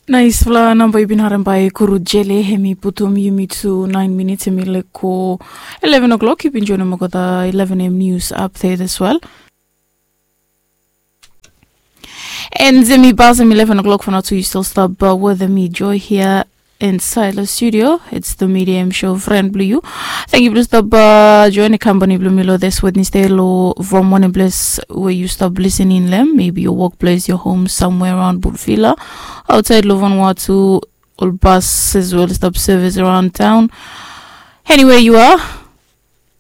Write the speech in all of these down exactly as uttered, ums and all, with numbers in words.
Naisfala namba yu bin harem bae Kuru Jele, hem i putum yumi tu naen minits, hem i laek go eleven o'clock. Yu bin joenem olgeta eleven a.m. nius apdet as wel. And hem i pasem eleven o'clock for now, so yu stil stap wetem mi, Joy, hia insaed long studio. It's the Medium Show, fren blong yu. Tangkiu blong stap joenem kampani blong mi long this Wednesday long from wanem ples we yu stap lisening long hem. Maybe your workplace, your home, somewhere around Burfila, aotsaed long Vanuatu, ol bas as well stap service around town. Anywhere you are,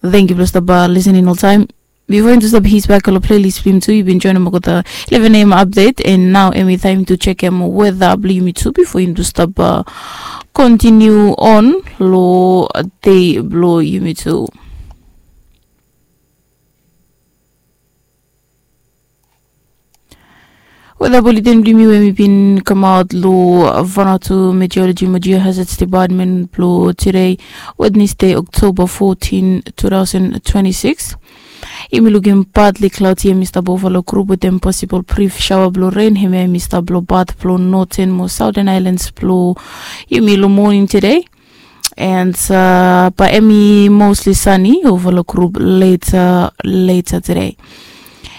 tangkiu blong stap lisening oltaem. Bifo yumi tu stap his bak long playlist blong yumi tu, yu bin joenem olgeta eleven a.m. apdet, and nao hem i taem tu jekem weta blong yumi tu bifo yumi tu stap kontiniu on long dei blong yumi tu. Weta buleten blong yumi we hem i bin kamaot long Vanuatu Meteorology mo Geohazards Department blong tede, Wednesday, October fourteen, two thousand twenty-six. Yumi lukim partly cloudy, hem i stap ova long grup wetem possible brief shower blong ren. Hemia hem i stap long pat blong Northern mo Southern Islands blong yumi long moning tede. And bae hem i mostly sunny ova long grup later, later tede.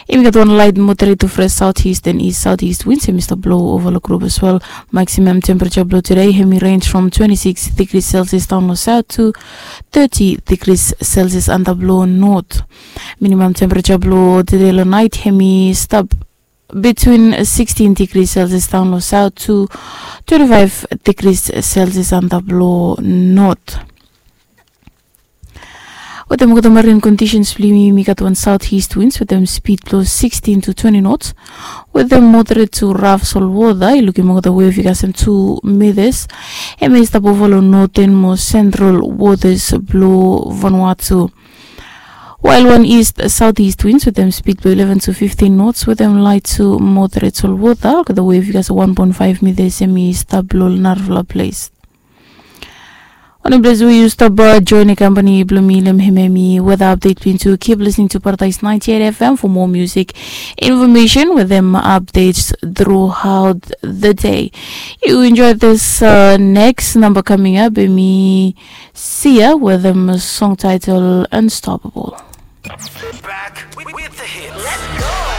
Hem i gat wan light moderate to fresh southeast and east southeast winds, hem i stap blow ova long grup as well. Maximum temperature blong tede hem i range from twenty-six degrees Celsius daon long south to thirty degrees Celsius antap long north. Minimum temperature blong tede long naet hem i stap between sixteen degrees Celsius daon long south to twenty-five degrees Celsius antap long north. Wetem olgeta marine conditions blong yumi, yumi gat wan southeast winds wetem speed blong sixteen to twenty knots, wetem moderate to rough salt water. Yu lukim olgeta wave i kasem two meters. Hem i stap ova long northern mo central waters blong Vanuatu. While wan east southeast winds wetem speed blong eleven to fifteen knots wetem light to moderate salt water, olgeta wave i kasem one point five meters, hem i stap long narafala ples. Wanem ples we yu stap joenem kampani blong mi long hem, hem i weta update blong yumi tu. Keep listening to Paradise ninety-eight F M for more music, information wetem updates throughout the day. Yu enjoy this next number coming up, hem i Sia wetem song title Unstoppable. Back with the hits.